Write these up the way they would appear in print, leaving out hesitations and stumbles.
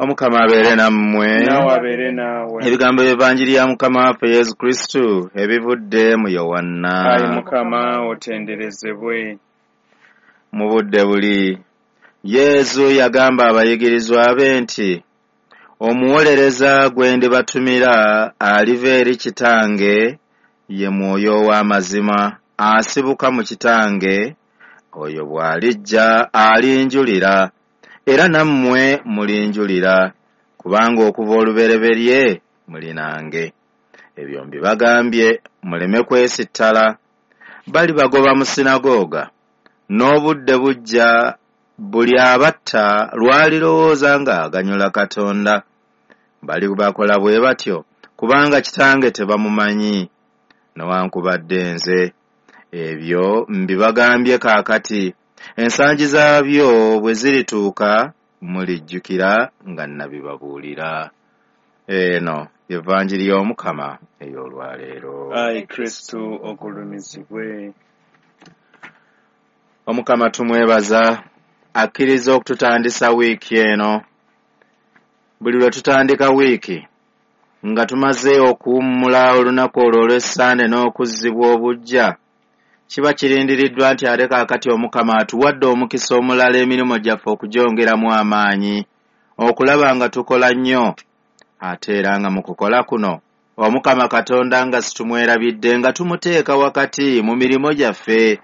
Omukama abeere nammwe. Naawe abeere naawe. Ebigambo by'Evanjiri ya Mukama waffe Yesu Kristu ebivudde mu Yowanna. Ayi Mukama, otenderezebwe. Mu budde buli, Yesu yagamba abayigirizwa be nti, Omuwolereza gwe ndibatumira aliva eri Kitange, ye Mwoyo ow'amazima, asibuka mu Kitange, oyo bw'alijja alinjulira, era nammwe mulinjulira, kubanga okuva olubereberye muli nange. Ebyo mbibagambye muleme kwesittala. Balibagoba mu sinagooga, n'obudde bujja buli abatta lwalirowooza ng'aganyula Katonda. Balibakola bwe batyo kubanga Kitange tebamumanyi, newankubadde nze. Ebyo mbibagambye kaakati, ensangi zaabyo bwe zirituuka mulijjukira nga nnabibabuulira. Eno Evanjiri y'Omukama ey'olwaleero. Ayi Kristu ogulumizibwe. Omukama tumwebaza akkiriza okututandisa wiiki eno. Buli lwe tutandika wiiki nga tumaze okuwummula olunaku olwo olw'Essande n'okuzzibwa obuggya, kiba kirindiriddwa nti ate kaakati Omukama atuwadde omukisa omulala emirimu gyaffe okugyongeramu amaanyi, okulaba nga tukola nnyo. Ate era nga mu kukola kuno Omukama Katonda nga situmwerabidde, nga tumuteeka wakati mu mirimu gyaffe.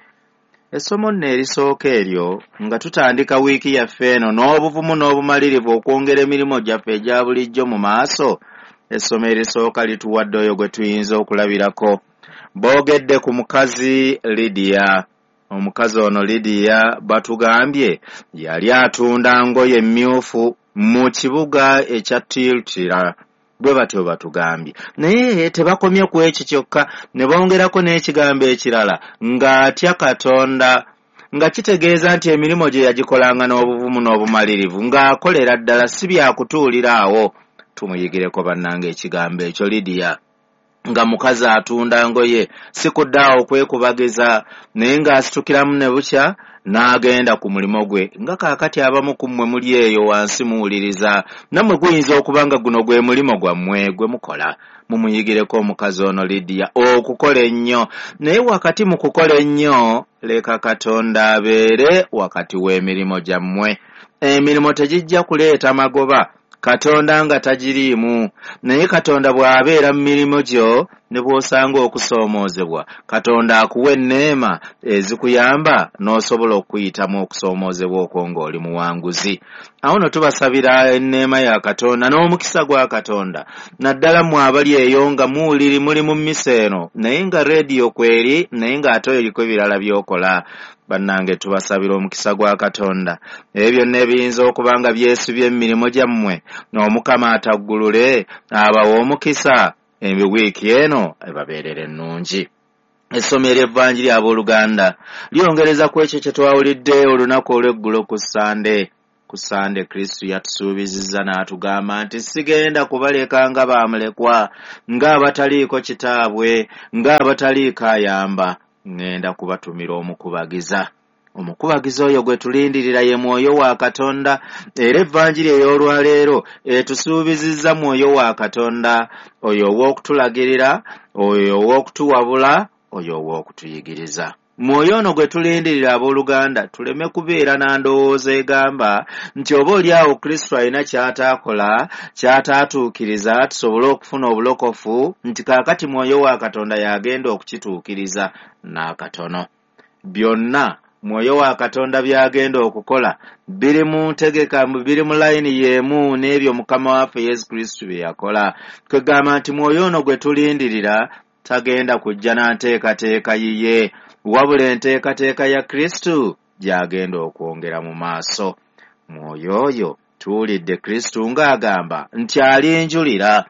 Essomo nno erisooka eryo nga tutandika wiiki yaffe eno n'obuvumu n'obumalirivu okwongera emirimu gyaffe egya bulijjo mu maaso, essomo erisooka lituwadde oyo gwe tuyinza okulabirako. Boogedde ku mukazi Lidiya. Omukazi ono Lidiya batugambye yali atunda ngoye mmyufu mu kibuga ekya Tiyatira. Bwe batyo batugambye. Naye tebakomye ku ekyo kyokka, ne bongerako n'ekigambo ekirala, ng'atya Katonda, nga kitegeeza nti emirimu gye yagikolanga n'obuvumu n'obumalirivu, ng'akolera ddala, si byakutuulira awo. Tumuyigireko bannange ekigambo ekyo Lidiya. Nga mukazi atunda ngoye, si kudda awo kwekubagiza, naye ng'asitukiramu ne bukya n'agenda ku mulimu gwe. Nga kaakati abamu ku mmwe muli eyo wansi muwuliriza, nammwe guyinza okuba nga guno gwe mulimu gwammwe gwe mukola. Mumuyigireko omukazi ono Lidiya okukola ennyo. Naye wakati mu kukola ennyo, leka Katonda abeere wakati w'emirimu gyammwe. Emirimu tegijja kuleeta magoba Katonda nga tagiriimu. Naye Katonda bw'abeera mu mirimu gyo, ne bw'osanga okusoomoozebwa, Katonda akuwa enneema ezikuyamba n'osobola okuyitamu okusoomoozebwa okwo ng'oli muwanguzi. Awo nno tubasabira enneema ya Katonda n'omukisa gwa Katonda, naddala mmwe abali eyo nga muwuliri muli mu mmisa eno, naye nga rediyo kweri, naye ng'ate oliko ebirala by'okola. Bannange tubasabira omukisa gwa Katonda. Ebyo byonna ebiyinza okuba nga byesibye mu mirimu gyammwe, Omukama ataggulule, abawe omukisa, wiiki eno ebabeerere ennungi. Essomo ery'Evanjiri abooluganda lyongereza ku ekyo kye twawulidde olunaku olw'eggulo ku Ssande. Ku Ssande Kristu yatusuubizizza n'atugamba nti sigenda kubaleka nga baamulekwa, ng'abataliiko kitaabwe, ng'abataliiko ayamba. Ŋŋenda kubatumira omukubagiza. Omukubagiza oyo gwe tulindirira ye Mwoyo wa Katonda, era Evanjiri ey'olwaleero etusuubizizza Mwoyo wa Katonda, oyo ow'okutulagirira, oyo ow'okutuwabula, oyo ow'okutuyigiriza. Mwoyo ono gwe tulindirira abooluganda, tuleme kubeera na ndowooza egamba nti oba oli awo Kristo alina ky'ataakola, ky'ataatuukiriza tusobole okufuna obulokofu, nti kaakati Mwoyo wa Katonda y'agenda okukituukiriza n'akatono. Byonna Mwoyo wa Katonda by'agenda okukola biri mu ntegeka, biri mu layini y'emu n'ebyo Mukama waffe Yesu Kristo bye yakola. Kwegamba nti Mwoyo ono gwe tulindirira tagenda kujja na nteekateeka yiye, wabula enteekateeka ya Kristo gy'agenda okwongera mu maaso. Mwoyo oyo tuwulidde Kristo ng'agamba nti alinjulira.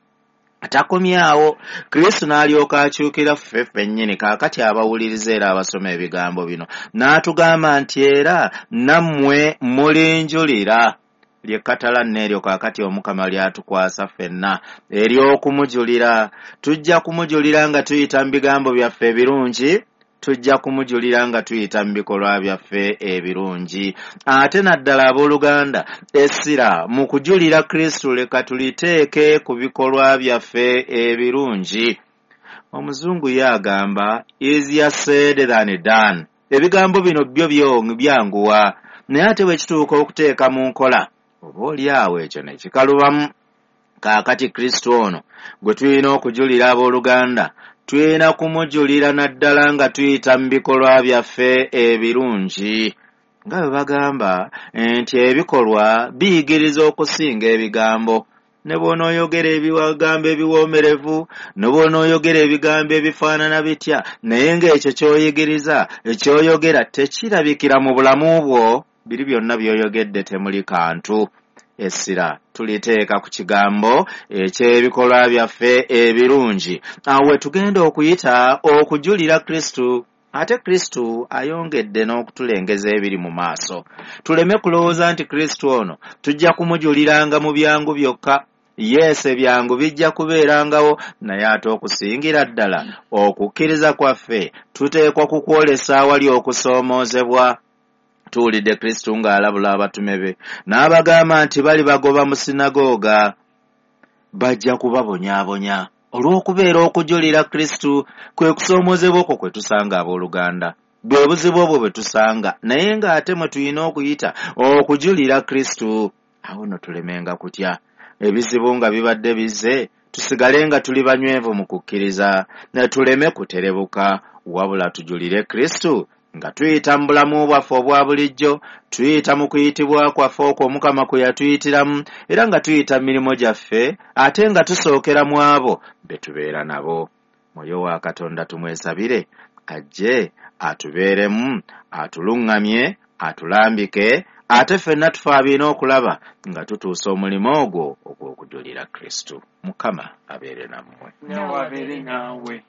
Takomyawo, Kristo n'alyoka akyukira ffe ffennyini kaakati abawuliriza era abasoma ebigambo bino, n'atugamba nti era nammwe mulinjulira. Ly'ekkatala nno eryo kaakati Omukama ly'atukwasa ffenna ery'okumujulira. Tujja kumujulira nga tuyita mu bigambo byaffe ebirungi, Tujja kumujulira nga tuyita mu bikolwa byaffe ebirungi. Ate naddala abooluganda, essira mu kujulira Kristo leka tuliteeke ku bikolwa byaffe ebirungi. Omuzungu ye agamba easier said than done. Ebigambo bino byo byanguwa, naye ate bwe kituuka okuteeka mu nkola, oba oli awo ekyo ne kikalubamu. Kaakati Kristo ono gwe tulina okujulira abooluganda, tulina kumujulira naddala nga tuyita mu bikolwa byaffe ebirungi. Nga bwe bagamba nti ebikolwa biyigiriza okusinga ebigambo. Ne bw'onooyogera ebigambo ebiwoomerevu, ne bw'onooyogera ebigambo ebifaanana bitya, naye ng'ekyo ky'oyigiriza, ky'oyogera tekirabikira mu bulamu bwo, biri byonna by'oyogedde temuli kantu. Essira tuliteeka ku kigambo eky'ebikolwa byaffe ebirungi. Awo we tugenda okuyita okujulira Kristo. Ate Kristo ayongedde n'okutulengeza ebiri mu maaso. Tuleme kulowooza nti Kristo ono tujja kumujuliranga mu byangu byokka. Yes, ebyangu bijja kubeerangawo, naye ate okusingira ddala okukkiriza kwaffe tuteekwa kukwolesa awali okusoomoozebwa. Tuwulidde Kristo ng'alabula abatume be n'abagamba nti bali bagoba mu sinagooga, bajja kubabonyaabonya olw'okubeera okujulira Kristo. Kwe kusoomoozebwa okwo kwe tusanga abooluganda, bwe buzibu obwo bwe tusanga, naye ng'ate mwe tulina okuyita okujulira Kristo. Awo nno tulemenga kutya ebizibu nga bibadde bizze, tusigale nga tuli banywevu mu kukkiriza, ne tuleme kuterebuka, wabula tujulire Kristo nga tuyita mu bulamu bwaffe obwa bulijjo, tuyita mu kuyitibwa kwaffe okwo Omukama kwe yatuyitiramu, era nga tuyita mu mirimu gyaffe, ate nga tusookera mu abo be tubeera nabo. Mwoyo wa Katonda tumwesabire ajje atubeeremu, atuluŋŋamye, atulambike, ate ffenna tufaabiina okulaba nga tutuusa omulimu ogwo ogw'okujulira Kristo. Mukama abeere nammwe. Nawe abeere naawe.